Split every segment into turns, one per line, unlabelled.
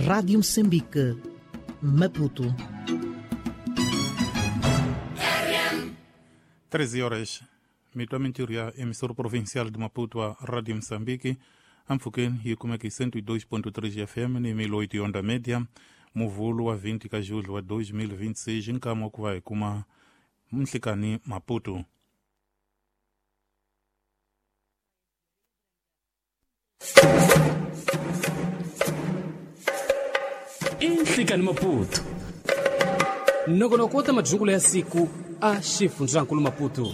Rádio Moçambique, Maputo.
13 horas, mitwa ya emissora provincial de Maputo a Rádio Moçambique, ampfukeni yi kumeka hi 102.3 FM ni 1008 onda média, muvulu wa 20 ka julho wa 2026 nkama wa ku va hi kuma nhlikani Maputo.
Inhlikani Maputo nongonoko wo ta madyungulo ya siku a xifundzankulu Maputo.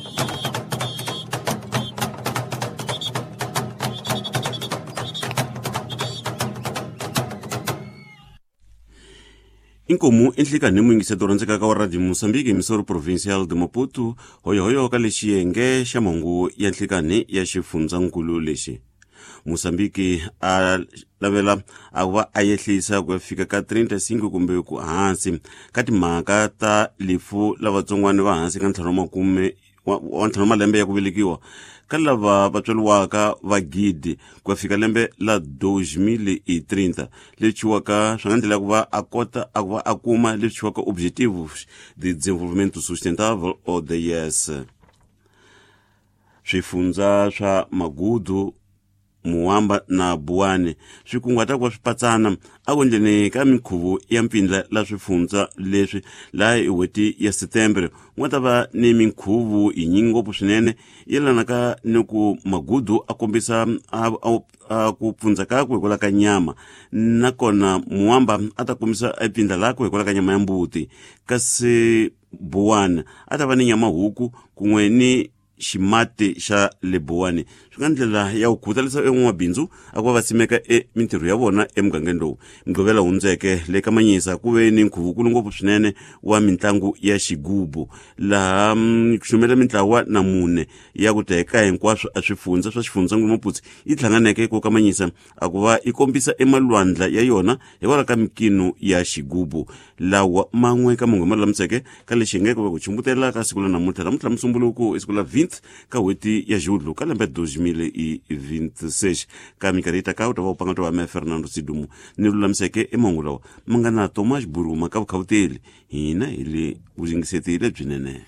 Inkomu enhlikani muyingiseti rhandzekaka wa Radio Moçambique emissora provincial de Maputo hoyohoyo ka lexiyenge xa mahungu ya nhlikani ya xifundzankulu lexi. Moçambique a lavela a va a yehlisa ku ya fika ka 35 kumbe ku hansi ka timhaka ta lifu la vatsongwana va hansi ka ntlhanu makume wa ntlhanu malembe ya ku velekiwa ka lava va tswariwaka va gidi ku ya fika lembe la 2030 leswi chiwaka swi nga ndlela ku va a kota a ku va a kuma leswi chiwaka Objetivos de Desenvolvimento Sustentável ODS. Swifundza swa Magudu, Muwamba na Buwani swi kunguhata ku va swi patsana a ku endleni ka minkhuvo ya mpfindla la swifundza leswi laha hi n'hweti ya Setembre ku nga ta va ni minkhuvo yinyingi ngopfu swinene yelanaka ni ku Magudu a kombisa a ku pfundza kakwe hikwalaho ka nyama, nakona Muwamba a ta kombisa epfindla lakwe hikwalaho ka nyama ya mbuti, kasi Buwani a ta va ni nyama huku kun'we ni ximati xa le Buwani. Swi nga ndlela ya ku khutalisa en'wamabindzu a ku va va simeka emintirho ya vona emugangeni lowu. Mugqivela hundzeke le ka Manyisa ku ve ni nkhuvukulu ngopfu swinene wa mitlangu ya xigubu laha ku xumela mintlawa na mune ya ku teka hinkwaswo a swifundza swa xifundzankulu Maputo yi hlanganeke ko ka Manyisa a ku va yi kombisa emalwandla ya yona hikwalaho ka minkino ya xigubu. Lawa man'we ka mahungu ma lulamiseke ka lexi hi nga ku va ku chumbutela ka siku la namuntlha namuntlha musumbuluko i siku la 20 ka n'hweti ya Julho ka lembe 2026. Ka minkarhi yi taka u ta va u panga to va me Fernando Sidumo ni lulamiseke emahungu lawa ma nga na Thomas Buruma ka vukhawuteli hina hi le vuyingiseti lebyinene.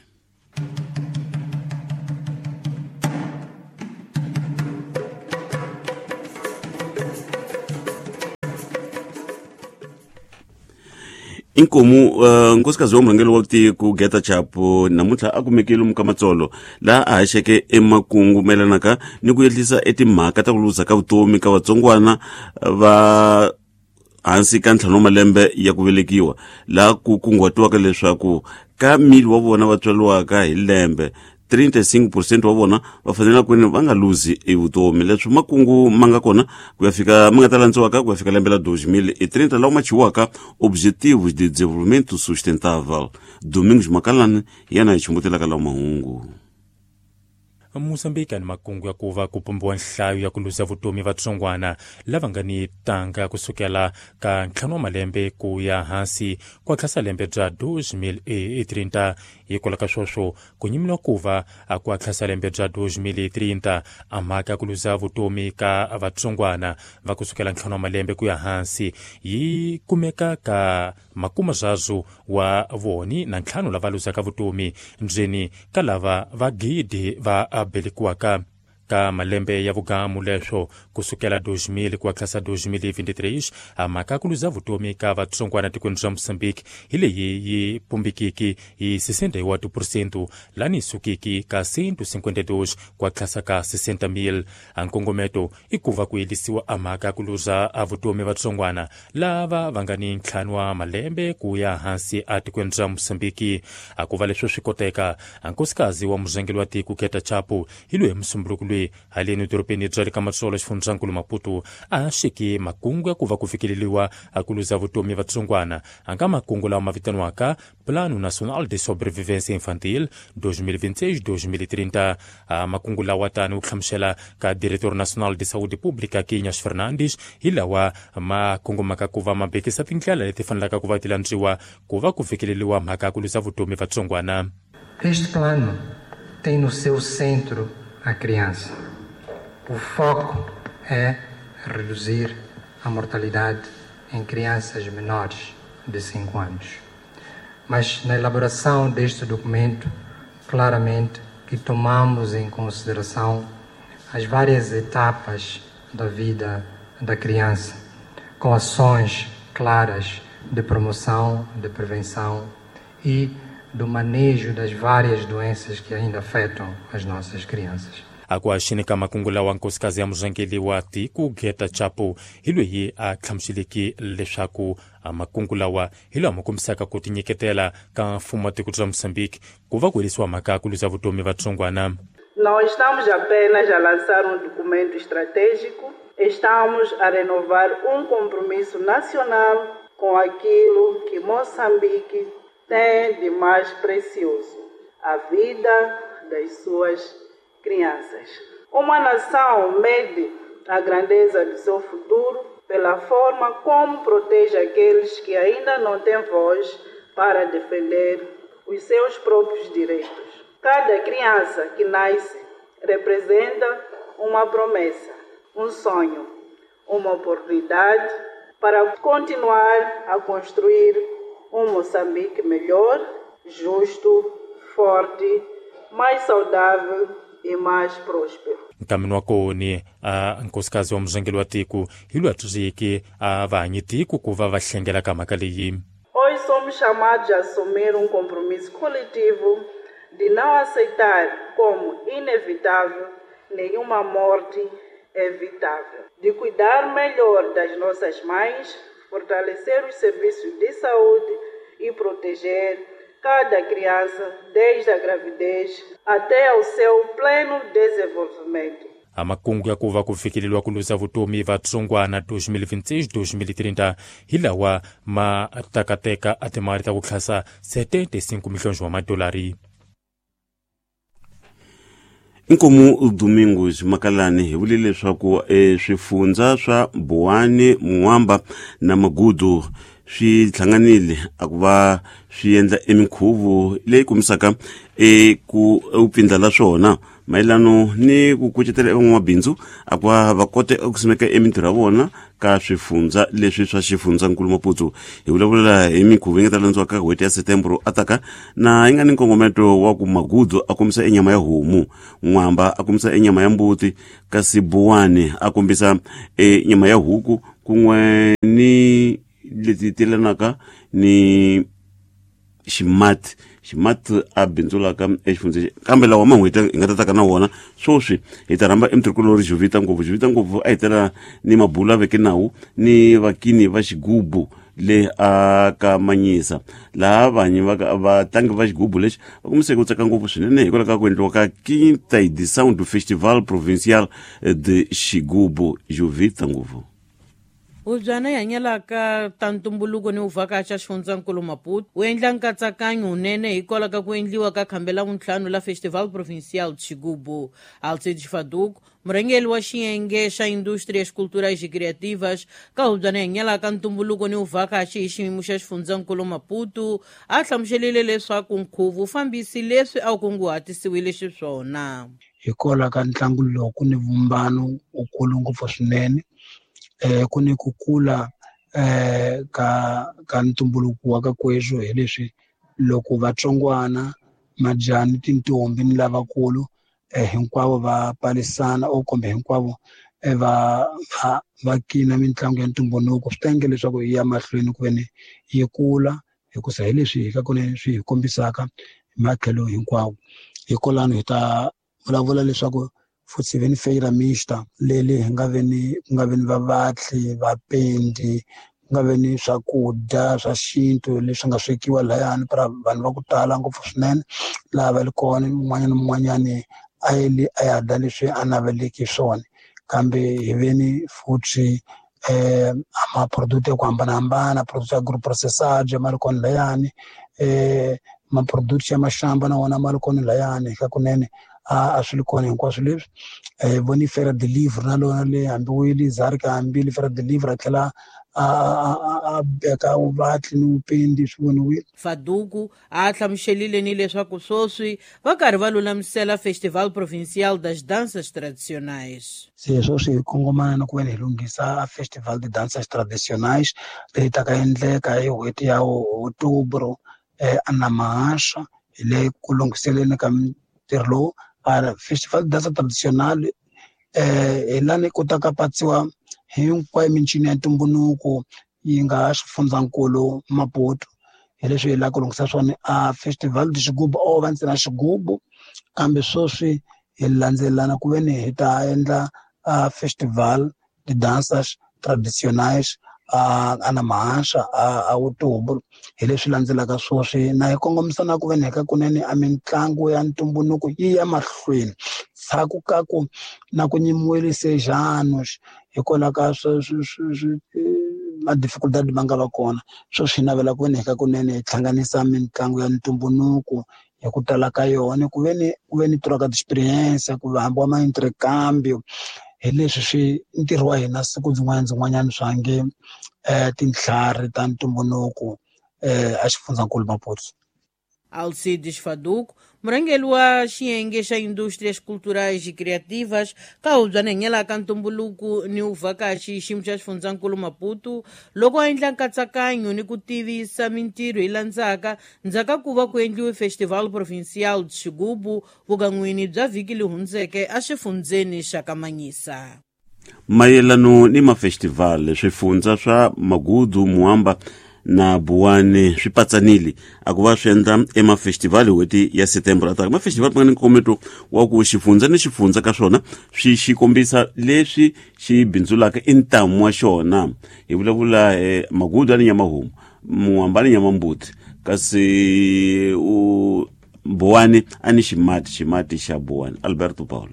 Inkomu nkosikazi wa murhangeri wa tiko Geta Chapo namuntlha a kumekile lomu ka Matsolo laha a haxeke emakungu mayelanaka ni ku yehlisa etimhaka ta ku luza ka vutomi ka vatsongwana va hansi ka ntlhanu wa malembe ya ku velekiwa, laha ku kunguhatiwaka leswaku ka mili wa vona va tswariwaka hi lembe 35% wa vona va fanele ku va nga luzi evutomi. Leswi makungu ma nga kona ku ya fika ma nga ta landziwaka ku ya fika lembe la 2030 lawa ma chiwaka Objetivos de Desenvolvimento Sustentável. Domingos Makalani yena hi chumbutelaka lawa mahungu.
Moçambique ni makungu ya ku va ku pumbiwa nhlayo ya ku luza vutomi vatsongwana lava nga ni tanga kusukela ka ntlhanu wa malembe ku ya hansi ku tlhasa lembe bya 2030. Hikwalaho ka sweswo ku nyimiwa ku va ku tlhasa lembe bya 2030 a mhaka ya ku luza vutomi ka vatsongwana va kusukela ntlhanu wa malembe ku ya hansi yi kumeka ka makumazazu wa voni na ntlhanu lava luzaka vutomi ndzeni ka lava va gidi va belekiwaka ka malembe ya vugamu. Leswo kusukela 2000 ku tlhasa 2023 a mhaka ku luza vutomi ka vatsongwana tikweni ra Moçambique hi leyi yi pumbikiki hi 61% lani sukiki ka 152 ku tlhasa ka 60,000. A nkongometo i ku va ku yelisiwa a mhaka ku luza a vutomi vatsongwana lava va nga ni ntlhanu wa malembe ku ya hansi a tikweni ra Moçambique. A ku va leswo swi koteka a nkosikazi wa murhangeri wa tiko Geta Chapo hi loyi musumbuluko loyi haleni dorobeni bya le ka Matsolo xifundzankulu Maputo a xiki makungu ya ku va ku fikeleriwa a ku luza vutomi vatsongwana a nga makungu lawa ma vitaniwaka Plano Nacional de Sobrevivência Infantil 2026-2030. A makungu lawa tani wu hlamusela ka Diretor Nacional de Saúde Pública Quinhas Fernandes hi lawa ma kongomaka ku va ma bekisa tindlela leti fanelaka ku va ti landziwa ku va ku fikeleriwa mhaka ya ku luza vutomi vatsongwana.
Este plano tem no seu centro a criança. O foco é reduzir a mortalidade em crianças menores de 5 anos. Mas na elaboração deste documento, claramente que tomamos em consideração as várias etapas da vida da criança, com ações claras de promoção, de prevenção e do manejo das várias doenças que ainda afetam as nossas crianças.
Akuaxinika makungu lawa nkosikazi ya murhangeri wa tiko Geta Chapo hi loyi a hlamuseleke leswaku makungu lawa hi lawa ma kombisaka ku tinyiketela ka mfumo wa tiko ra Moçambique ku va ku herisiwa mhaka ya ku luza vutomi vatsongwana.
Não estamos apenas a lançar um documento estratégico, estamos a renovar um compromisso nacional com aquilo que Moçambique tem de mais precioso, a vida das suas crianças. Uma nação mede a grandeza do seu futuro pela forma como protege aqueles que ainda não têm voz para defender os seus próprios direitos. Cada criança que nasce representa uma promessa, um sonho, uma oportunidade para continuar a construir um Moçambique melhor, justo, forte, mais saudável e mais próspero.
Nkamini wa koni a nkosikazi wa murhangeri wa tiko hi loyi a tsundzuxeke a vahanyi tiko ku va va hlengela ka mhaka leyi.
Hoje somos chamados a assumir um compromisso coletivo de não aceitar como inevitável nenhuma morte evitável, de cuidar melhor das nossas mães, fortalecer os serviços de saúde e proteger cada criança desde a gravidez até ao seu pleno desenvolvimento.
A makungu ya ku va ku fikeleriwa ku luza vutomi vatsongwana 2026-2030 hi lawa ma takateka a timali ta ku tlhasa 75 milhões wa madolari.
Inkomu Domingos Makalani hi vule leswaku swifundza swa Buwani, Muwamba na Magudu swi hlanganile a ku va swi endla eminkhuvo leyi kombisaka ku upfindla la swona mayelano ni ku kucetela evan'wamabindzu a ku va va kote ku simeka emintirho ya vona ka swifundza leswi swa xifundzankulu Maputo. Hi vulavula hi minkhuvo yi nga ta landziwa ka n'hweti ya Setembro ataka na yi nga ni nkongometo wa ku Magudu a kombisa enyama ya homu, N'wamba a kombisa enyama ya mbuti, kasi Buwani a kombisa enyama ya huku kun'we ni leti telanaka ni ximati ximati a bindzulaka exifundzeni. Kambe lawa man'hweti hi nga tataka na wona swoswi hi ta rhamba emtirhikulori Jovita Ngopfu. Jovita Ngopfu a hi tela ni mabulu a veke nawu ni vakini va xigubu le a ka Manyisa, laha vanyi vatlangi va xigubu lexi va kombiseke ku tsaka ngopfu swinene hikwalaho ka ku endliwa ka Quinta Edição do Festival Provincial de Xigubu. Jovita Ngopfu.
Hubyana yi hanyelaka ta ntumbuluko ni vuvhakachi xifundzankulu Maputo wu endla nkatsakanyo wunene hikwalaho ka ku endliwa ka khambe la vuntlhanu la Festival Provincial de Xigubu. Alcides Faduco, murhangeri wa xiyenge xa Indústrias Culturais e Criativas ka hubyana yi hanyelaka ntumbuluko ni vuvhakachi hi xiyimo xa xifundzankulu Maputo, a hlamuselile leswaku nkhuvo wu fambisi leswi a wu kunguhatisiwile xiswona.
Hikwalaho ka ntlangu lowu ku ni vumbano wukulu ngopfu swinene, ku ni ku kula ka ntumbuluko wa ka kweswo hi leswi loko vatsongwana majani tintombi ni lavakulu hinkwavo va palisana o kumbe hinkwavo va kina mitlangu ya ntumbuluko, swi ta endla leswaku yi ya mahlweni ku ve ni yi kula hikusa hi leswi hi ka kone swi hi kombisaka hi matlhelo hinkwawo. Hikwalano hi ta vulavula leswaku futhi ve ni feira mixta leli hi nga ve ni ku nga ve ni vavatli, vapendi, ku nga ve ni swakudya swa xintu leswi nga swekiwa lahayani para vanhu va ku tala ngopfu swinene laha va li kona, un'wanyana na un'wanyani a yele a ya dya leswi a naveleke swona. Kambe hi ve ni futhi ma-product ya ku hambanahambana, product ya agro-processage ma ri kona lahayani, ma-product ya maxamba na wona ma ri kona lahayani. Hakunene A swi li kona hinkwaswo leswi. Voni Feira de Livre na lona le hambi wile Zarika hambile Feira de Livre a tlhela a beka vuvatli ni vupendi swi voniwile.
Faduku a hlamuselile ni leswaku sweswi va karhi va lulamisela Festival Provincial das Danças Tradicionais.
Se sweswi hi kongomana na ku veni hi lunghisa Festival de Danças Tradicionais leyi taka endleka hi n'hweti ya Outubro eNamahasha. Hi le ku lunghiseleni ka ntirho lowu. Festival de Dança Tradicional hi lani ku ta ka patsiwa hinkwayo mincino ya ntumbuluko yi nga xifundzankulu Maputo. Hi leswi hi lava ku lunghisa swona. A Festival de Xigubu o va ntsena xigubu, kambe sweswi hi landzelelana ku veni hi ta endla a Festival de Danças Tradicionais a Namahasha a Outubro. Hi leswi landzelaka sweswi na hi kongomisa na ku veni hi ka kunene a mitlangu ya ntumbuluko yi ya mahlweni ndzhaku ka ku na ku nyimiwile sejanos hikwalaho ka ma-dificultad ma nga va kona. Sweswi hi navela ku veni hi ka kunene hi hlanganisa mitlangu ya ntumbuluko hi ku tala ka yona, ku veni ku ve ni troca de experiência, ku hambiwa ma intercambio. Hi leswi swi ntirho wa hina siku byin'wana byin'wanyana swa nge tintlhari ta ntumbuluko a xifundzankulu Maputo.
Alcides Faduco, murhangeri wa xiyenge xa indústrias culturais e criativas ka hubyana hanyela ka ntumbuluko ni vuvhakachi xiyimo xa xifundzankulu Maputo, loko a endla nkatsakanyo ni ku tivisa mintirho yi landzaka ndzhaku ku va ku endliwe Festival Provincial de Xigubu vukan'wini bya vhiki leri hundzeke exifundzeni xa Kamanyisa.
Mayelano ni mafestival, swifundza swa Magudu, Muamba na Buwani swi patsanile a ku va swi endla emafestival n'hweti ya September ataka. Mafestival ma nga ni nkometo wa ku xifundza ni xifundza ka swona swi xi kombisa leswi xi bindzulaka i ntamu wa xona. Hi vulavula Magudu a ni nyama homu, Muamba ni nyama mbuti, kasi u Buwani a ni ximati, ximati xa Buwani. Alberto Paulo.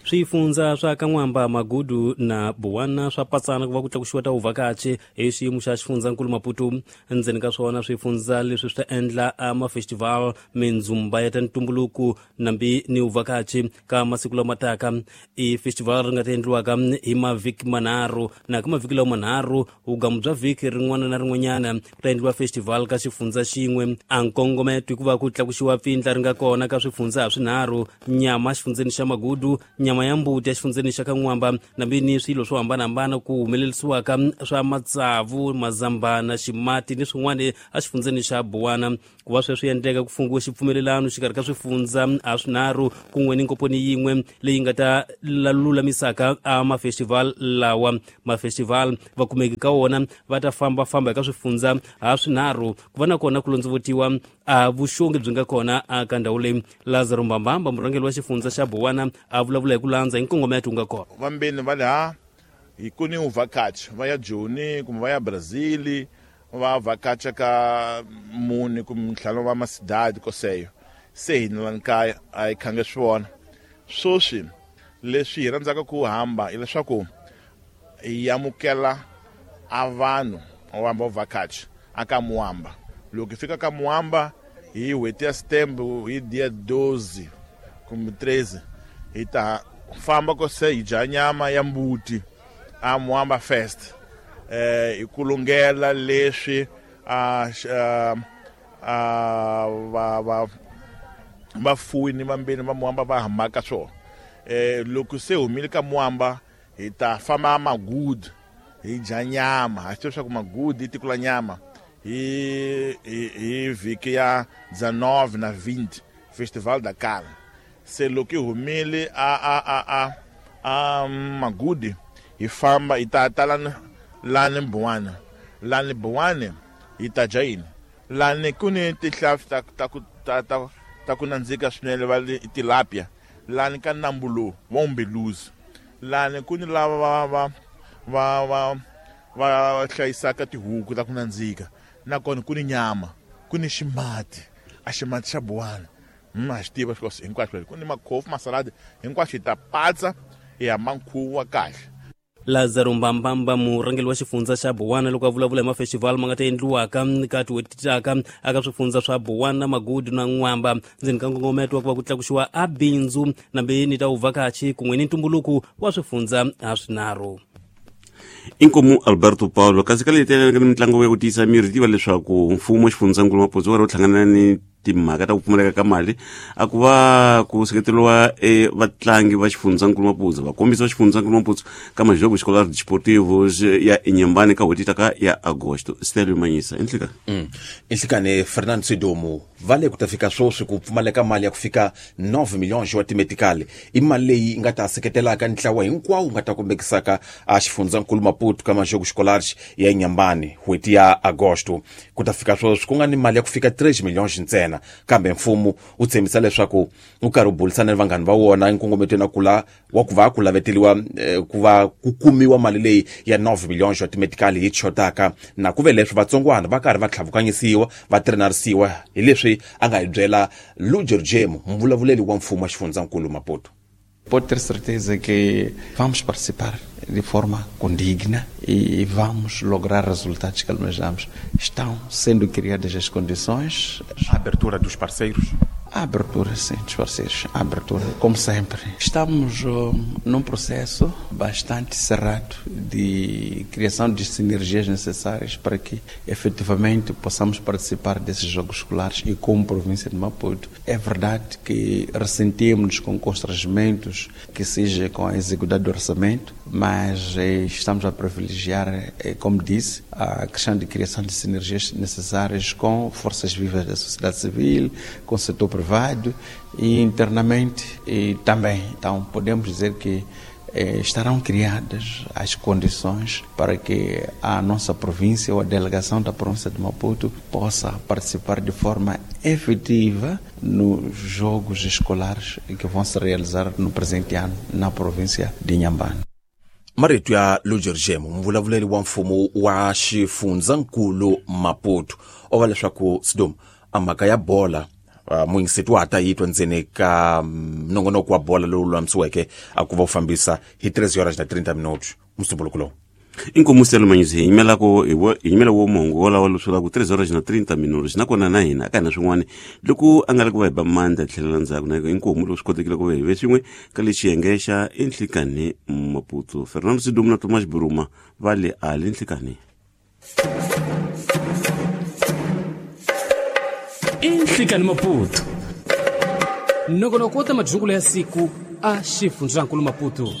Swifundza swa Kan'wamba, Magudu na Buwana swa patsana ku va ku tlakuxiwa ta vuvhakachi hi xiyimo xa xifundzankulu Maputo. Endzeni ka swona swifundza leswi swi ta endla amafestival, mindzumba ya ta ntumbuluko nambi ni vuvhakachi ka masiku lama taka. I festival ri nga ta endliwaka hi mavhiki manharhu, na ka mavhiki lawa manharhu vugamu bya vhiki rin'wana na rin'wanyana ku ta endliwa festival ka xifundza xin'we. A nkongometo i ku va ku tlakuxiwa pfindla ri nga kona ka swifundza ha swinharhu: nyama xifundzeni xa Magudu, nyama ya mbuti exifundzeni xa Kan'wamba, nambi ni swilo swo hambanahambana ku humelerisiwaka swa matsavu, mazambana, ximati ni swin'wana exifundzeni xa Buwana. Ku va sweswi endleka ku fungiwe xipfumelelano xikarhi ka swifundza a swinharhu kun'we ni nkomponi yin'we leyi nga ta lulamisaka a mafestival lawa. Mafestival vakumeki ka wona va ta fambafamba eka swifundza ha swinharhu ku va na kona ku londzovutiwa a vuxongi byi nga kona aka ndhawu leyi. Lazaro Mbambamba, murhangeri wa xifundza xa Buwana, a vulavula hi ku landza hi nkongometo wu nga kona.
Vambeni va le ha hi ku ni vuvhakachi va ya Joni kumbe va ya Brazil, va vhakacha ka mune kumbe ntlhanu va masidadi koseyo. Se hina lani kaya a hi khange swi vona. Sweswi leswi hi rhandzaka ku hamba hileswaku hi amukela a vanhu va hamba vuvhakachi aka Muamba. Loko hi fika ka Muamba hi n'hweti ya September hi dia 12 kumbe 13, hi ta famba kose hi dya nyama ya mbuti a Muamba Fest. Hi ku lunghela leswi a va vafuwi ni vambeni va Muamba va hambaka swona. Loko se humile ka Muamba hi ta famba Magudu hi dya nyama. Ha swi tiva leswaku Magudu i tiko la nyama. Hi vhiki ya 19 na 20 Festival da Carne. Se loko hi humile a Magudi hi famba hi ta ta lani Buwana. Lani Buwana hi ta dya yini? Lani ku ni tihlampfi ta ku nandzika swinene va le tilapia. Lani ka nambu lowu wa Umbeluzi. Lani ku ni lava va hlayisaka tihuku ta ku nandzika. Nakona ku ni nyama, ku ni ximati, a ximati xa Buwana. Ha xi tiva swilo hinkwaswo. Ku ni makhofu, masaladi, hinkwaswo hi ta patsa hi hamba nkhuvo wa kahle.
Lazaro Mbambamba murhangeri wa xifundza xa Buwana loko a vulavula hi mafestival ma nga ta endliwaka ka tin'hweti taka aka swifundza swa Buwana, Magudu na N'wamba ndzeni ka nkongometo wa ku va ku tlakuxiwa a bindzu nambe ni ta vuvhakachi kun'we ni ntumbuluko wa swifundza ha swinharhu.
Inkomu Alberto Paulo kasi ka leyi telelaka ni mitlangu ya ku tiyisa miri tiva leswaku mfumo xifundzankulu Maputo wa ri wu hlangana ni timhaka ta ku pfumaleka ka mali a ku va ku seketeriwa e vatlangi va xifundzankulu Maputo vakombisi va xifundzankulu Maputo ka Majogo Escolar Desportivos ya Inhambane ka n'hweti taka ya Agosto. Stelio Manyisa enhlekani.
Enhlekani Fernando Sidomu va le ku ta fika sweswi ku pfumaleka mali ya ku fika 9 milhões wa timetikali i mali leyi nga ta seketelaka ntlawa hinkwawo nga ta kombekisaka a xifundzankulu Maputo ka Majogo Escolares ya Inhambane n'hweti ya Agosto. Ku ta fika sweswi ku nga ni mali ya ku fika 3 milhões ntsena, kambe mfumo wu tshembisa leswaku wu karhi wu burisana ni vanghani va wona enkongometweni wa kula wa ku va ku laveteliwa ku va ku kumiwa mali leyi ya 9 milhões wa timetikali yi chotaka na ku ve leswi vatsongwana va karhi va tlhavukanyisiwa va trenarisiwa hi leswi a nga hi byela Luger Jemu mvulavuleli wa mfumo wa xifundzankulu Maputo.
Pode ter certeza que vamos participar de forma condigna e vamos lograr resultados que almejamos. Estão sendo criadas as condições.
A abertura dos parceiros?
A abertura, sim, dos parceiros. A abertura, como sempre. Estamos num processo bastante cerrado de criação de sinergias necessárias para que efetivamente possamos participar desses Jogos Escolares e como província de Maputo. É verdade que ressentimos com constrangimentos que seja com a execução do orçamento, mas estamos a privilegiar, como disse, a questão de criação de sinergias necessárias com forças vivas da sociedade civil, com o setor privado e internamente e também. Então, podemos dizer que estarão criadas as condições para que a nossa província ou a delegação da província de Maputo possa participar de forma efetiva nos Jogos Escolares que vão se realizar no presente ano na província de Inhambane.
Marito ya Luger Jemu mvulavuleli wa mfumo wa xifundzankulu Maputo o va leswaku Sidom a mhaka ya bola muyingiseti wa ha ta yi twa ndzeni ka nongonoko wa bola lowu lulamisiweke a ku va wu fambisa hi 3 horas na 30 minutos musumbuluko lowu.
Inkomu Stelio Manyisa hi yimelako hi yimela wo mongo wolawo leswi la ku 3 horas na 30 minutos nakona na hina aka hina swin'wana loko a nga ri ku va hi ba mandla tlhelela ndzhaku na inkomu loko swi kotekile ku va hi ve swin'we ka le xiyenge xa Enhlikani Maputo. Fernando Sidumu na Thomas Buruma va le ali Enhlikani.
Enhlikani Maputo nongonoko wa ta madyungulo ya siku a xifundzankulu Maputo.